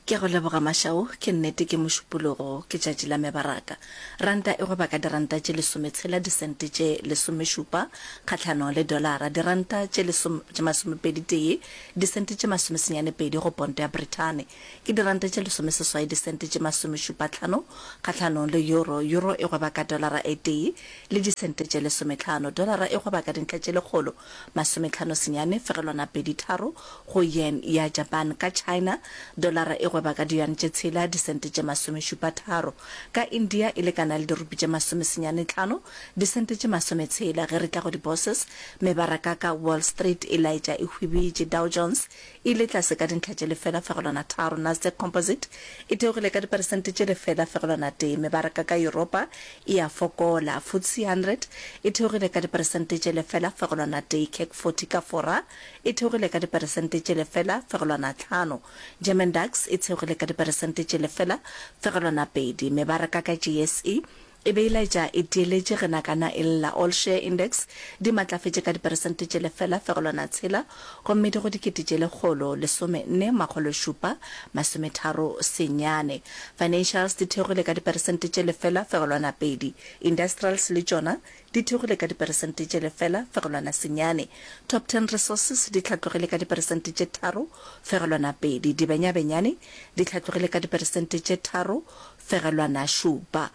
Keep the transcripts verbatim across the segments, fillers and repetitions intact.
Ke a go leboga Mashao, ke nnete ke Mošupologo, ke tšatši la mebaraka. Ranta e gweba ka diranta tše lesometshela disente tše lesomešupa kgahlanong le dolara, diranta tše lesom tše masomepedi tee disente tše masomesenyane pedi go ponto ya Brithani, ke diranta tše lesomeseswai disente tše masomešupa hlano kgahlanong le euro, euro e gweba ka dolara e tee le disente tše lesometlhano, dolara e gweba ka dintlha tše lekgolo masometlhano senyane fegelwana pedi tharo go yen ya Japan, ka China dolara e gweba ka diyuan tše tshela disente tše masomešupa tharo, ka India e lekana le dirupi tše masomesenyane tlhano disente tše masometshela. Ge re tla go di-bourses, mebaraka ka Wall Street e laetša e hwibitše, Dow Jones e ile tlase ka dintlha tše lefela fegelwana tharo, Nasdaq Composite e theogile ka diperesente tše lefela fegelwana tee, mebaraka ka Yuropa e a fokola, FTSE hundred e theogile ka diperesente tše lefela fegelwana tee, CAC forty ka Fora e theogile ka diperesente tše lefela fegelwana tlhano, German DAX e theogile ka diperesente tše lefela fegelwana pedi, mebaraka ka J S E e be e laetša e tieletše ge nakana e lla. All Share Index di matlafetše ka diperesente tše lefela fegelwana tshela gomme di go dikete tše lekgolo lesome nne makgolo šupa masometharo senyane. Financials di theogile ka diperesente tše lefela fegelwana pedi, Industrials le tšona di theogile ka diperesente tše lefela fegelwana senyane. Top Ten Resources di hlatlogile ka diperesente tše tharo fegelwana pedi, Dibenyabenyane di hlatlogile ka diperesente tše tharo fegelwana šupa.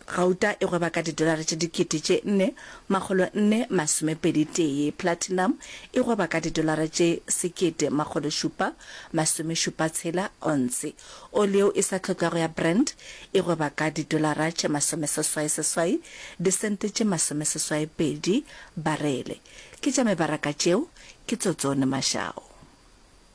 Gauta e gweba ka didolara tše dikete tše nne makgolo nne masomepedi tee, platinum e gweba ka didolara tše sekete makgolo šupa masomešupa tshela onse. Oli yeo e sa hlokego ya Brent e gweba ka didolara tše masomeseswai seswai disente tše masomeseswai pedi barele. Ke tša mebaraka tšeo, ke Tsotsone Mashao.